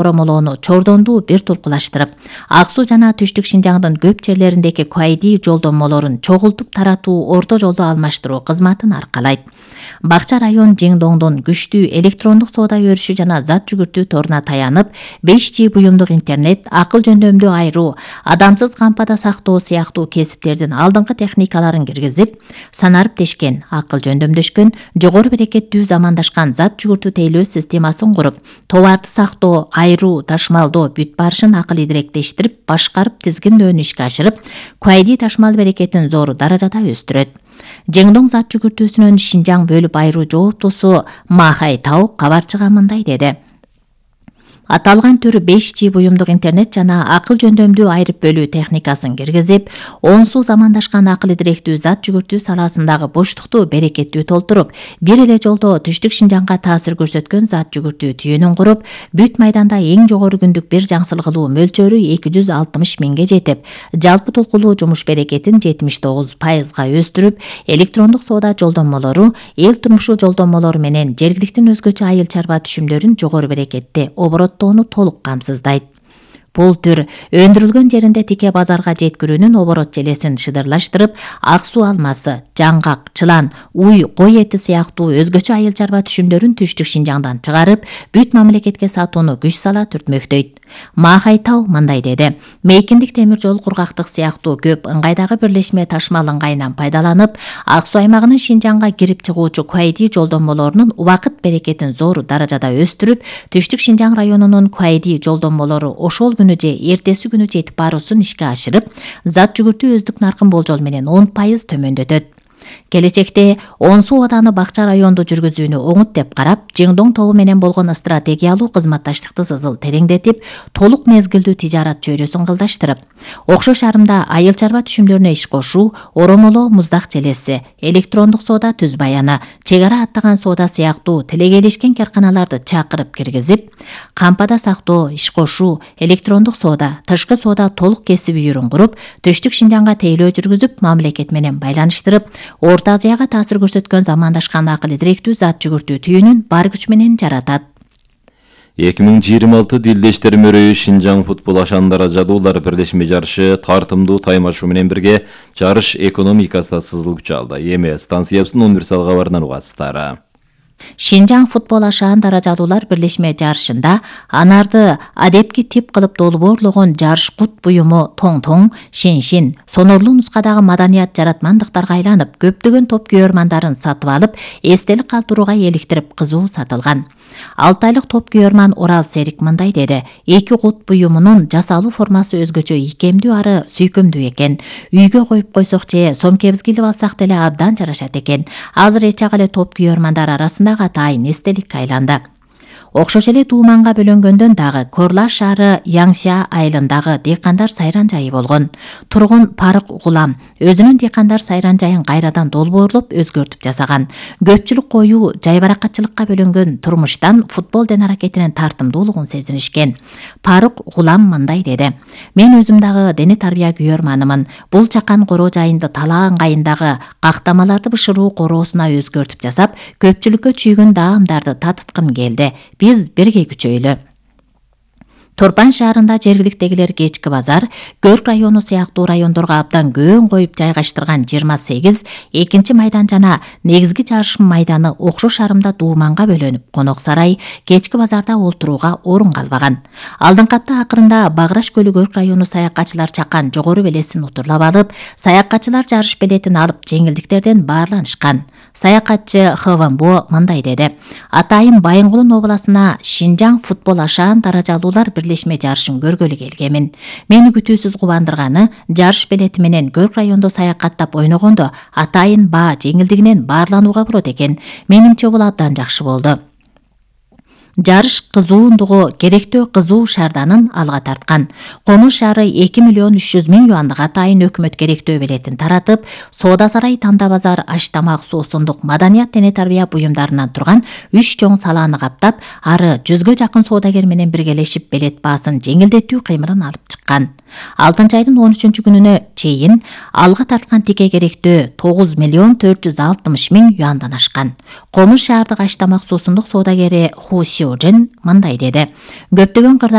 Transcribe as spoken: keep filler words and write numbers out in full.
оромолоону чордондуу бир тулкулаштырып, Ак Суу жана Түштүк Шинжаңдын көп жерлериндеги куайди жолдомолорун чогултуп таратуу орто жолдо алмаштыруу кызматын аркалайт. Бакча район Жеңдоңдун күчтүү электрондук соода өрүшү жана зат жүгүртүү торуна таянып, беш джи буюмдук интернет, акыл жөндөмдүү айруу, адамсыз кампада сактоо сыяктуу кесиптердин алдыңкы техникаларын киргизип, санарып тешкен, акыл жөндөмдөшкөн, жогору берекеттүү замандашкан зат жүгүртүү тейлөө системасын куруп, товарды сактоо, айруу, ташмалдоо бүт барышын акыл идиректештирип, башкарып, тизгиндөөнү ишке ашырып, куайди ташмал берекетин зор даражада өстүрөт. Жеңдоң зат жүгүртүүсүнүн Шинжаң бөлүп айруу жооптусу Махай Тау кабарчыга мындай деди. Аталган түр беш джи буюмдук интернет жана акыл жөндөмдүү айрып бөлүү техникасын киргизип, онсу замандашкан акыл идиректүү зат жүгүртүү саласындагы боштукту берекеттүү толтуруп, бир эле жолдо Түштүк Шинжаңга таасир көрсөткөн зат жүгүртүү түйүнүн куруп, бүт майданда эң жогору күндүк бир жаңсыл кылуу мөлчөрү эки жүз алтымыш миңге жетип, жалпы толкулуу жумуш берекетин жетимиш тогуз пайызга өстүрүп, электрондук соода жолдомолору, эл турмушу жолдомолору менен жергиликтин өзгөчө айыл чарба түшүмдөрүн жогору берекетте оборот толук камсыздайт. Бул түр өндүрүлгөн жеринде тике базарга жеткирүүнүн оборот желесин шыдырлаштырып, Ак Суу алмасы, жаңгак, чылан, уй, кой эти сыяктуу өзгөчө айыл чарба түшүмдөрүн Түштүк Шинжаңдан чыгарып, бүт мамлекетке сатууну күч сала түртмөктөйт. Махай Тау мындай деди. Мейкиндик темир жол, кургактык сыяктуу көп ыңгайдагы бирлешме ташмал ыңгайынан пайдаланып, Ак Суу аймагынын Шинжаңга кирип чыгуучу куайди жолдомолорунун убакыт берекетин зор даражада өстүрүп, Түштүк Шинжаң районунун куайди жолдомолору ошол күнү же эртеси күнү жетип баруусун ишке ашырып, зат жүгүртүү өздүк наркын болжол менен он пайыз төмөндөтөт. Келечекте Онсу ооданы Бакча районду жүргүзүүнү оңут деп карап, Жеңдоң тобу менен болгон стратегиялуу кызматташтыкты сызыл тереңдетип, толук мезгилдүү тижарат чөйрөсүн кылдаштырып, окшош арымда айыл чарба түшүмдөрүнө иш кошуу, оромолоо муздак желеси, электрондук соода түз баяны, чек ара аттаган соода сыяктуу тилегейлешкен карканаларды чакырып киргизип, кампада сактоо, иш кошуу, электрондук соода, тышкы соода толук кесиби үйүрүн куруп, Түштүк Шинжаңга тейлөө жүргүзүп, мамлекет менен байланыштырып, Орто Азияга таасир көрсөткөн замандашкан акыл идиректүү зат жүгүртүү түйүнүн бар күч менен жаратат. эки миң жыйырма алты Дилдештер мөрөйү Шинжаң футбол ашандара жадуулар бирлешме жарышы тартымдуу таймашуу менен бирге жарыш экономикасына сызыл күч алды. Эми станциябыздын универсал кабарынан угасыздар. Шинжаң футбол ашаан даражалуулар бирлешме жарышында анарды адепки тип кылып долбоорлогон жарыш кут буюму тоң-тоң, шин-шин, сонорлуу нускадагы маданият жаратмандыктарга айланып, көптөгөн топ күйөрмандарын сатып алып, эстелик калтырууга эликтирип кызуу сатылган. алты айлык топ күйөрман Орал Серик мындай деди. Эки кут буюмунун жасалуу формасы өзгөчө ийкемдүү ары сүйкөмдүү экен. Үйгө коюп койсок же сомкебизге илип алсак деле абдан жарашат экен. Азыр эч ак эле топ күйөрмандар арасында атайын эстеликке айланды. Окшош эле Тууманга бөлөнгөндөн дагы Корлаш шаары Яңша айылындагы дыйкандар сайран жайы болгон. Тургун Парык Гулам өзүнүн дыйкандар сайран жайын кайрадан долбоорлоп өзгөртүп жасаган. Көпчүлүк коюу жайбаракатчылыкка бөлөнгөн турмуштан футбол аракетинин тартымдуулугун сезинишкен. Парык Гулам мындай деди. Мен өзүм дагы дене тарбия күйөрманымын. Бул чакан короо жайынды талаа ыңгайындагы кактамаларды бышыруу короосуна өзгөртүп жасап, көпчүлүккө чүйгүн даамдарды татыткым келди. Биз бирге күчөйлү. Торпан шаарында жергиликтегилер кечки базар, Көрк району сыяктуу райондорго абдан көөн коюп жайгаштырган жыйырма сегиз экинчи майдан жана негизги жарыш майданы окшош арымда Тууманга бөлөнүп, конок сарай, кечки базарда олтурууга орун калбаган. Алдыңкы апта акырында Баграш көлү Көрк району саякатчылар чакан жогору белесин утурлап алып, саякатчылар жарыш билетин алып жеңилдиктерден баарланышкан. Саякатчы Хвамбо мындай деди. Атайын Байынгулун обласына Шинжаң футбол ашаан даражалуулар бирлешме жарышын көргөлү келгемин. Мени күтүүсүз кубандырганы жарыш билети менен Көрк райондо саякаттап ойногондо атайын баа жеңилдигинен баарланууга болот экен. Менимче бул абдан жакшы болду. Жарыш кызуундугу керектөө кызуу шаарданын алга тарткан. Комуш шаары эки миллион үч жүз миң юандык атайын өкмөт керектөө билетин таратып, Соода сарай, Танда базар, аш тамак, суу сундук, маданият дене тарбия буюмдарынан турган үч чоң салааны каптап, ары жүзгө жакын соодагер менен биргелешип билет баасын жеңилдетүү кыймылын алып чыккан. айткан. алтынчы айдын он үчүнчү күнүнө чейин алга тарткан тике керектөө тогуз миллион төрт жүз алтымыш миң юандан ашкан. Комуз шаардык ач тамак суусундук соодагери Ху Сиожен мындай деди: көптөгөн